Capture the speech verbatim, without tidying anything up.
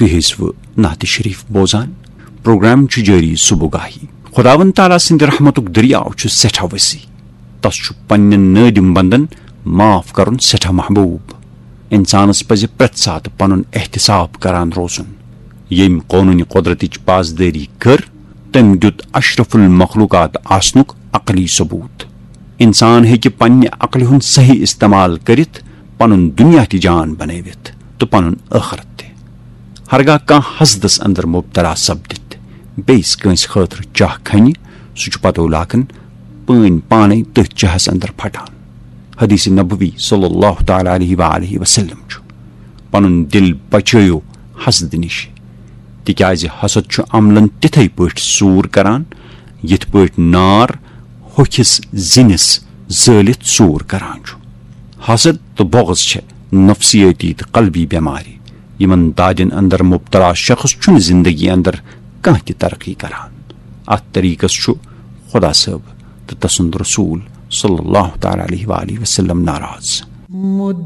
تُہۍ ٲسِوٕ نعت شریف بوزان۔ پروگرام چھُ جٲری صبح گاہی۔ خداوند تعالیٰ سٕنٛدِ رحمتُک دٔریاو چھُ سٮ۪ٹھاہ وسیع۔ تس چھُ پننٮ۪ن نٲدِم بندن معاف کرُن سٮ۪ٹھاہ محبوب۔ انسانس پزِ پرٛٮ۪تھ ساتہٕ پنُن احتساب کران روزُن۔ ییٚمۍ قونوٗنِ قۄدرتٕچ پاسدٲری کٔر، تٔمۍ دیُت اشرف المخلوقات آسنُک عقلی ثبوت۔ انسان ہیٚکہِ پننہِ عقلہِ ہُنٛد صحیح استعمال کٔرِتھ پنُن دُنیا تہِ جان بنٲوِتھ تہٕ پنُن ٲخرت تہِ۔ ہرگاہ کانٛہہ حسدس اندر مبتلا سپدِتھ بیٚیِس کٲنٛسہِ خٲطرٕ چاہ کھنہِ، سُہ چھُ پتو لاگان پٲنۍ پانے تٔتھۍ چاہس اندر پھٹان۔ حدیث نبوی صلی اللہ تعالیٰ علیہ وآلہ وسلم چھُ، پنُن دل بچٲیِو حسد نِش، تِکیازِ حسد چھُ عملن تِتھے پٲٹھۍ سوٗر کران، یِتھ پٲٹھۍ نار ہوٚکھِس زِنِس زٲلِتھ سوٗر کران چھُ۔ حسد تہٕ بغض چھِ نفسیٲتی تہٕ قلبی بٮ۪مارِ، یِمن دادٮ۪ن اندر مبتلا شخص چھُنہٕ زندگی اندر کانٛہہ تہِ ترقی کران۔ اتھ طریقس چھُ خدا صٲب تہٕ تسُنٛد رسول صلی اللہ تعالیٰ علیہ وآلہ وسلم ناراض۔